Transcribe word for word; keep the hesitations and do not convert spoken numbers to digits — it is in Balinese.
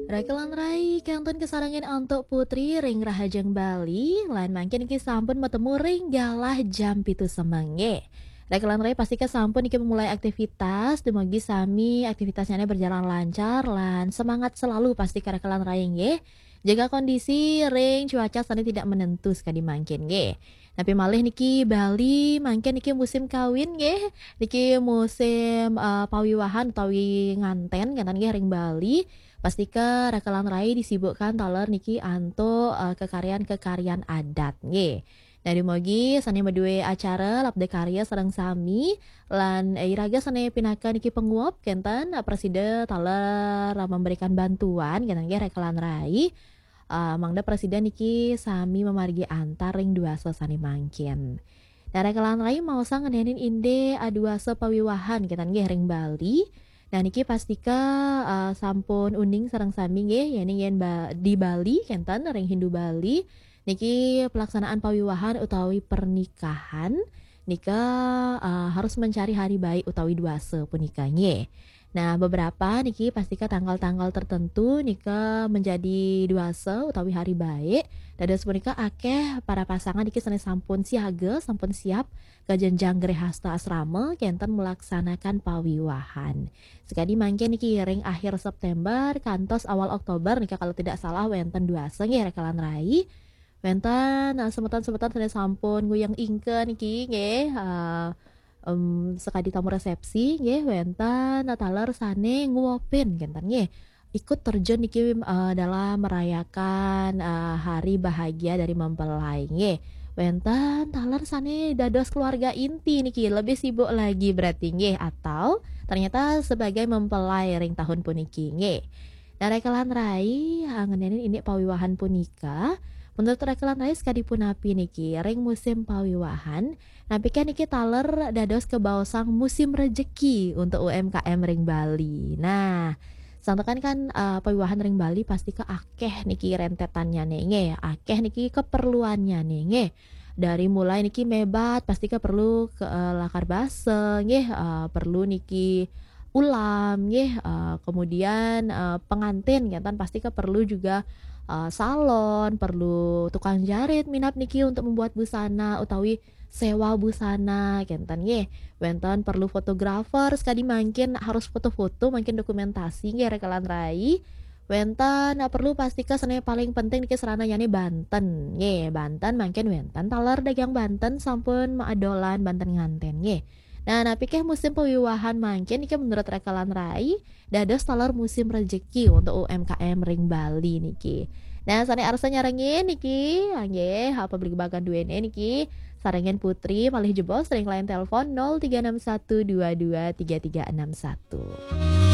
Rakelan rai, kantun kasarengin antuk Putri ring Rahajeng Bali, lan mangkin niki sampun matemu ring galah jam pitu semeng nggih. Rakelan rai, pastika sampun niki memulai aktivitas, dumugi sami aktivitasnya berjalan lancar lan semangat selalu pastika rakelan rai nggih. Jaga kondisi ring cuaca sane tidak menentu sekadi mangkin nggih. Napi malih niki Bali mangkin niki musim kawin nggih. Niki musim, eh, pawiwahan utawi nganten kenten nggih ring Bali. Pastika rakelan rai disibukkan taler niki antuk, eh, kekaryan-kekaryan adat nggih. Nah, dumugi sane madue acara labda karya sareng sami lan, eh, iraga sane pinaka niki panguap kenten, eh, prasida taler, eh, memberikan bantuan kenten nggih rakelan rai. Eh, mangda prasida niki sami mamargi antar ring duasa sane mangkin. Nah, rakelan rai maosang ngenenin indik, eh, duasa pawiwahan kenten nggih ring Bali. Nah, niki pastika, eh, sampun uning sareng sami nggih, yening yen ba-, di Bali kenten ring Hindu Bali. Niki pelaksanaan pawiwahan utawi pernikahan nika, eh, harus mencari hari baik utawi duasa punika nggih. Nah, beberapa niki pastika tanggal-tanggal tertentu nika menjadi duasa utawi hari baik. Dados punika akeh para pasangan niki sane sampun siaga, sampun siap ka jenjang grehasta asrama kenten melaksanakan pawiwahan. Sekadi mangkin niki ring akhir September kantos awal Oktober nika kalau tidak salah wenten duasa nggih rakelan rai. Wenten, eh, semeton-semeton sane sampun nguyeng ingka niki nggih, eh, em, sekadi tamu resepsi nggih, wenten, eh, taler sane nguapin kenten nggih. Ikut terjun niki, eh, dalam merayakan, eh, hari bahagia dari mempelai nggih. Wenten taler sane dados keluarga inti niki lebih sibuk lagi berarti nggih, atau ternyata sebagai mempelai ring tahun puniki nggih. Nah, rakelan rai, eh, ngenenin indik pawiwahan punika, menurut rakelan rai sekadi punapi niki ring musim pawiwahan, napikah niki taler dados kabaosang musim rejeki untuk U M K M ring Bali. Nah, santukan kan, eh, pawiwahan ring Bali pastika akeh niki rentetannyane nggih, akeh niki keperluannyane nggih. Dari mulai niki mebat pastika perlu ke, eh, lakar basa nggih, eh, perlu niki ulam nggih, eh, kemudian, eh, pengantin kenten pastika perlu juga, eh, salon, perlu tukang jarit minab niki untuk membuat busana utawi sewa busana kenten nggih. Wenten perlu fotografer sekadi mangkin harus foto-foto mangkin dokumentasi nggih rakelan rai. Wenten, eh, perlu pastika sane paling penting niki serananyane banten nggih. Banten mangkin wenten taler dagang banten sampun maadolan banten nganten nggih. Nah, napikeh musim pawiwahan mangkin niki menurut rakelan rai dados taler musim rejeki untuk U M K M ring Bali niki. Nah, sane arsa nyarengin niki, nggih, apa beli bagan duene niki, sarengin Putri malih jebos ring line telepon nol tiga enam satu dua dua tiga tiga enam satu.